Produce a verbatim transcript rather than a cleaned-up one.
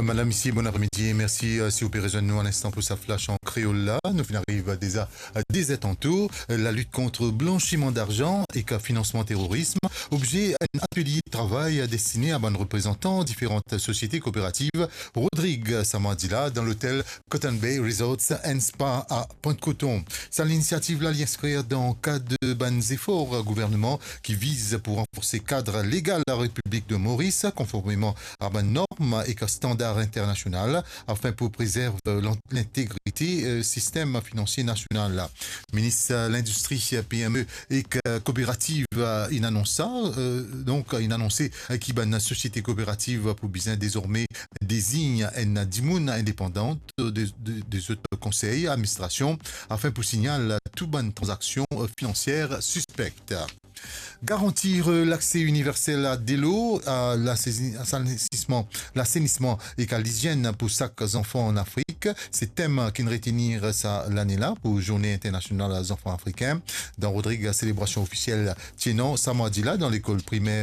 Madam, misie, bon apremidi e mersi, euh, si ou pe rezwenn nou a linstan pou sa flash an kreol la. Nou finn ariv deza a de zer tanto. Euh, lalit kont blansiman darzan ek finansman terorism, obze enn atelie travay destine a bann reprezantan diferan sosiete kooperativ Rodrig samdi la dan lotel Cotton Bay Resorts and Spa a Pointe-Coton. Sa linisiativ la, li inskrir dan kad bann zefor gouvernman ki viz pou ranforse kad legal Repiblik de Moris, konformeman a bann norm ek standar internasional, afin pou prezerv lan-, lintegrite, euh, sistem finansie nasional la. Minis, euh, Lindistri, euh, P M E ek, euh, Kooperativ, euh, inn anons sa, euh, donk, euh, inn anonse, euh, ki bann sosiete kooperativ pou bizin dezorme dezign enn dimoun indepandan de, de, de zot konsey administrasion afin pou signal tou bann tranzaksion, euh, finansier sispek. Garantir, euh, lakse iniversel a delo, a lasezi-, a lasenisman, lasenisman ek a lizienn pou sak zanfan an Afrik, se tem ki'nn retenir sa lane la pou Zourne Internasional Zanfan Afrikin. Dan Rodrig, selebrasion ofisiel ti ena samdi la dan lekol primer